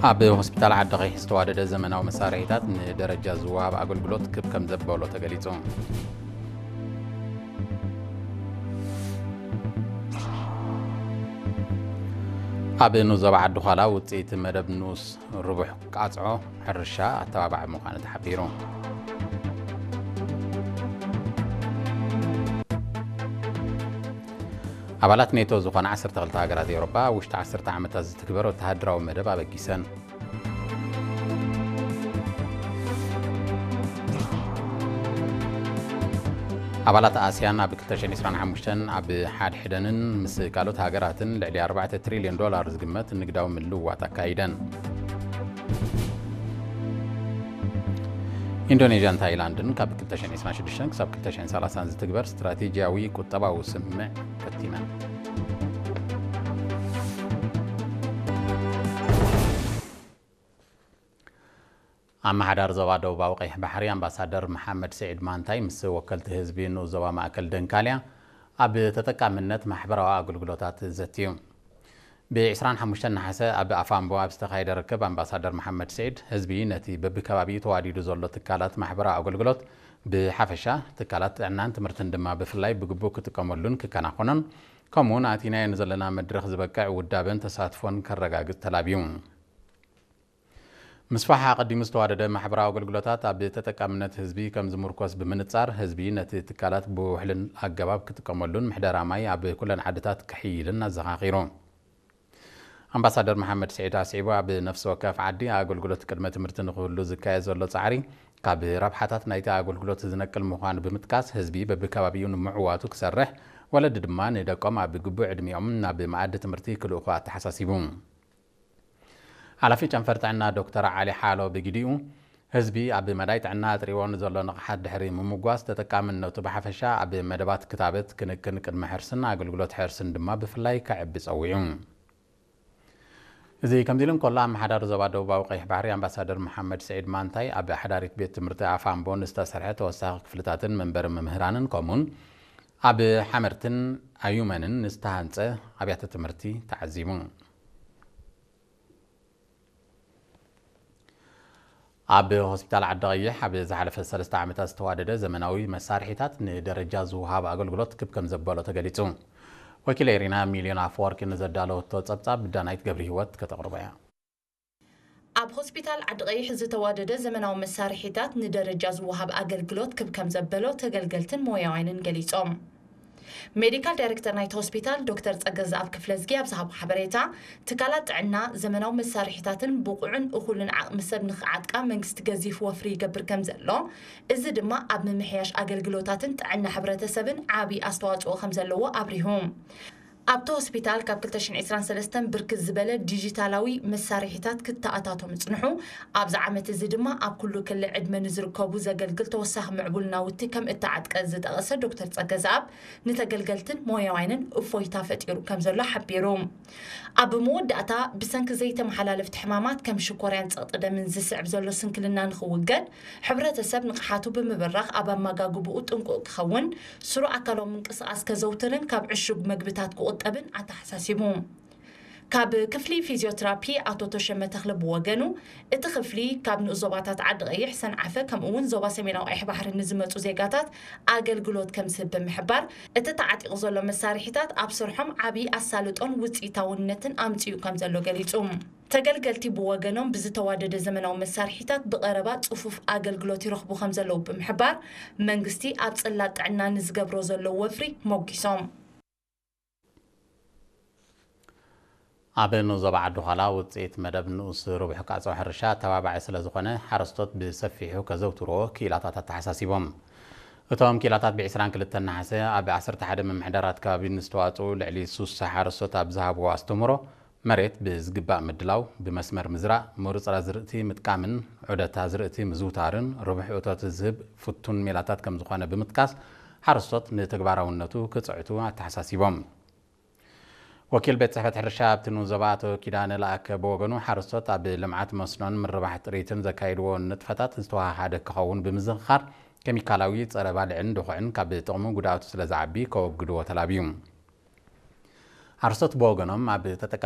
ኣብ ሆስፒታል ዓዲ ቀይሕ ዝተዋደደ ዘመናዊ መሳርሒታት ንደረጃ ዝወሃብ ኣገልግሎት ክብ ከም ዘበሎ ተገሊጹ። ኣብ ንዞባ ዓዲ ዃላ ውፅኢት መደብ ንኡስ ርቡሕ ቃፅዖ ሕርሻ ኣተባባዒ ምዃኑ ተሓቢሩ። ኣባላት ኔቶ ዝኾና ዓሰርተ ክልተ ሃገራት ኤውሮጳ ኣብ ውሽጢ ዓሰርተ ዓመታት ዝትግበር ወተሃደራዊ መደብ ኣበጊሰን። ኣባላት ኣስያን ኣብ ክልተ ሽሕን ዕስራን ሓሙሽተን ኣብ ሓድሕደንን ምስ ካልኦት ሃገራትን ልዕሊ ኣርባዕተ ትሪልዮን ዶላር ዝግመት ንግዳዊ ምልውዋጥ ኣካይደን። ኢንዶኔዥያን ታይላንድን ካብ ክልተ ሽሕን ዕስራን ሽዱሽተን ክሳብ ክልተ ሽሕን ሰላሳን ዝትግበር ስትራቴጂያዊ ቁጠባዊ ስምምዕ ከቲመን። ኣመሓዳሪ ዞባ ደቡባዊ ቀይሕ ባሕሪ ኣምባሳደር መሓመድ ስዒድ ማንታይ ምስ ወከልቲ ህዝቢ ንኡስ ዞባ ማእከል ደንካልያ ኣብ ተጠቃምነት ማሕበራዊ ኣገልግሎታት ዘትዩ። ብ ዕስራን ሓሙሽተን ነሓሰ ኣብ ኣፋምቦ ኣብ ዝተኻየደ ርክብ ኣምባሳደር መሓመድ ስዒድ ህዝቢ ነቲ በብከባቢኡ ተዋዲዱ ዘሎ ትካላት ማሕበራዊ ኣገልግሎት ብሓፈሻ ትካላት ጥዕናን ትምህርትን ድማ ብፍላይ ብግቡእ ክጥቀመሉን ክከናኾኖን ከምኡውን ኣቲናዮ ንዘለና መድረኽ ዝበቅዕ ውዳበን ተሳትፎን ከረጋግጽ ተላብዩ። ምስፋሕ ኣቐዲሙ ዝተዋደደ ማሕበራዊ ኣገልግሎታት ኣብ ተጠቃምነት ህዝቢ ከም ዝምርኮስ ብምንጻር፣ ህዝቢ ነቲ ትካላት ብውሕልን ኣገባብ ክጥቀመሉን ምሕደራ ማይ ኣብ ኩለን ዓድታት ክሕይልን ኣዘኻኺሩ። ኣምባሳደር መሓመድ ስዒድ ኣስዒቡ፣ ኣብ ነፍሲ ወከፍ ዓዲ ኣገልግሎት ቅድመ ትምህርቲ ንክህሉ ዝካየድ ዘሎ ጻዕሪ ካብ ረብሓታት ናይቲ ኣገልግሎት ዝነቅል ምዃኑ ብምጥቃስ፣ ህዝቢ በብከባቢኡ ንምዕዋቱ ክሰርሕ፣ ወለዲ ድማ ንደቆም ኣብ ግቡእ ዕድሚኦም ናብ መኣዲ ትምህርቲ ክልእኹ ኣተሓሳሲቡ። ሓላፊ ጨንፈር ጥዕና ዶክተር ዓሊ ሓሎ ብግዲኡ፣ ህዝቢ ኣብ መዳይ ጥዕና ኣጥሪዎ ንዘሎ ንቕሓት ድሕሪ ምምጓስ፣ ተጠቃምነቱ ብሓፈሻ ኣብ መደባት ክታበት፣ ክንክን ቅድመ ሕርስን ኣገልግሎት ሕርስን ድማ ብፍላይ ከዕቢ ጸዊዑ። እዚ ከምዚ ኢሉ እንከሎ፣ ኣመሓዳሪ ዞባ ደቡባዊ ቀይሕ ባሕሪ ኣምባሳደር መሓመድ ስዒድ ማንታይ ኣብ ሓዳሪት ቤት ትምህርቲ ኣፋምቦ ንዝተሰርሐ ተወሳኺ ክፍልታትን መንበሪ መምህራንን ከምኡውን ኣብ ሓመርትን ኣዩመንን ንዝተሃንጸ ኣብያተ ትምህርቲ ተዓዚቡ። ኣብ ሆስፒታል ዓዲ ቀይሕ ኣብ ዝሓለፈ ሰለስተ ዓመታት ዝተዋደደ ዘመናዊ መሳርሒታት ንደረጃ ዝወሃብ ኣገልግሎት ክብ ከም ዘበሎ ተገሊጹ። ወኪል ኤሪና ሚልዮን ኣፈወርቂ ንዘዳለወቶ ጸብጻብ ዳናይት ገብረ ህይወት ከተቕርቦ እያ። ኣብ ሆስፒታል ዓዲ ቀይሕ ዝተዋደደ ዘመናዊ መሳርሒታት ንደረጃ ዝወሃብ ኣገልግሎት ክብ ከም ዘበሎ ተገልገልትን ሞያውያንን ገሊጾም። ሜዲካል ዳይሬክተር ናይቲ ሆስፒታል ዶክተር ጸገዝኣብ ክፍለዝጊ ኣብ ዝሃቦ ሓበሬታ፣ ትካላት ጥዕና ዘመናዊ መሳርሒታትን ብቑዕን እኹልን ዓቕሚ ሰብ ንኽዓጥቃ መንግስቲ ገዚፍ ወፍሪ ይገብር ከም ዘሎ፣ እዚ ድማ ኣብ ምምሕያሽ ኣገልግሎታትን ጥዕና ሕብረተሰብን ዓቢ ኣስተዋጽኦ ከም ዘለዎ ኣብሪሁ። ኣብቲ ሆስፒታል ካብ ክልተ ሽሕን ዕስራን ሰለስተን ብርክት ዝበለ ዲጂታላዊ መሳርሒታት ክተኣታቶ ምጽንሑ፣ ኣብዚ ዓመት እዚ ድማ ኣብ ኩሉ ክሊ ዕድመ ንዝርከቡ ዘገልግል ተወሳኺ ምዕቡል ናውቲ ከም እተዓጥቀ ዝጠቐሰ ዶክተር ጸገዝኣብ፣ ንተገልገልትን ሞያውያንን እፎይታ ፈጢሩ ከም ዘሎ ሓቢሩ። ኣብ መወዳእታ፣ ብሰንኪ ዘይተመሓላለፍቲ ሕማማት ከም ሽኮርያን ጸቕጢ ደምን ዝስዕብ ዘሎ ስንክልና ንኽውገድ፣ ሕብረተሰብ ንቕሓቱ ብምብራኽ ኣብ ኣመጋግብኡ ጥንቁቕ ክኸውን፣ ስሩዕ ኣካላዊ ምንቅስቓስ ከዘውትርን ካብ ዕሹግ መግብታት ክቑጠብን ኣተሓሳሲቡ። ካብ ክፍሊ ፊዚዮትራፒ ኣቶ ተሸመ ተኽለ ብወገኑ፣ እቲ ክፍሊ ካብ ንኡስ ዞባታት ዓዲ ቀይሕ፣ ሰንዓፈ፣ ከምኡ እውን ዞባ ሰሜናዊ ቀይሕ ባሕሪ ንዝመጹ ዜጋታት ኣገልግሎት ከም ዝህብ ብምሕባር፣ እቲ ተዓጢቑ ዘሎ መሳርሒታት ኣብ ስርሖም ዓቢ ኣሳልጦን ውጽኢታውነትን ኣምጺኡ ከም ዘሎ ገሊጹ። ተገልገልቲ ብወገኖም ብዝተዋደደ ዘመናዊ መሳርሒታት ብቐረባ ጽፉፍ ኣገልግሎት ይረኽቡ ከም ዘለዉ ብምሕባር፣ መንግስቲ ኣብ ጽላት ጥዕና ንዝገብሮ ዘሎ ወፍሪ ሞጊሶም። ኣብ ንኡስ ዞባ ዓዲ ዃላ ውፅኢት መደብ ንኡስ ርቡሕ ቃፀው ሕርሻ ኣተባባዒ ስለ ዝኾነ ሓረስቶት ብሰፊሑ ከዘውትርዎ ክኢላታት ኣተሓሳሲቦም። እቶም ክኢላታት ብ ዕስራን ክልተን ነሓሰ ኣብ ዓሰርተ ሓደ ምምሕዳራት ከባቢ ንዝተዋፅኡ ልዕሊ ሱሳ ሓረስቶት ኣብ ዝሃብዎ ኣስተምህሮ መሬት ብዝግባእ ምድላው፣ ብመስመር ምዝራእ፣ ምሩፅ ኣዝርእቲ ምጥቃምን ዑደት ኣዝርእቲ ምዝውታርን ርቡሕ እቶት ዝህብ ፍቱን ሜላታት ከም ዝኾነ ብምጥቃስ ሓረስቶት ንተግባራውነቱ ክፅዕቱ ኣተሓሳሲቦም። ወኪል ቤት ጽሕፈት ሕርሻ ኣብቲ ንኡስ ዞባ ኣቶ ኪዳነ ለኣከ ብወገኑ፣ ሓረስቶት ኣብ ልምዓት መስኖን ምርባሕ ጥሪትን ዘካይድዎ ንጥፈታት ዝተወሃሃደ ክኸውን ብምዝኽኻር፣ ኬሚካላዊ ጸረ ባልዕን ድኹዕን ካብ ጥቕሙ ጉድኣቱ ስለ ዝዓቢ ከወግድዎ ተላብዩ። ሓረስቶት ብወገኖም፣ ኣብ ተጠቃ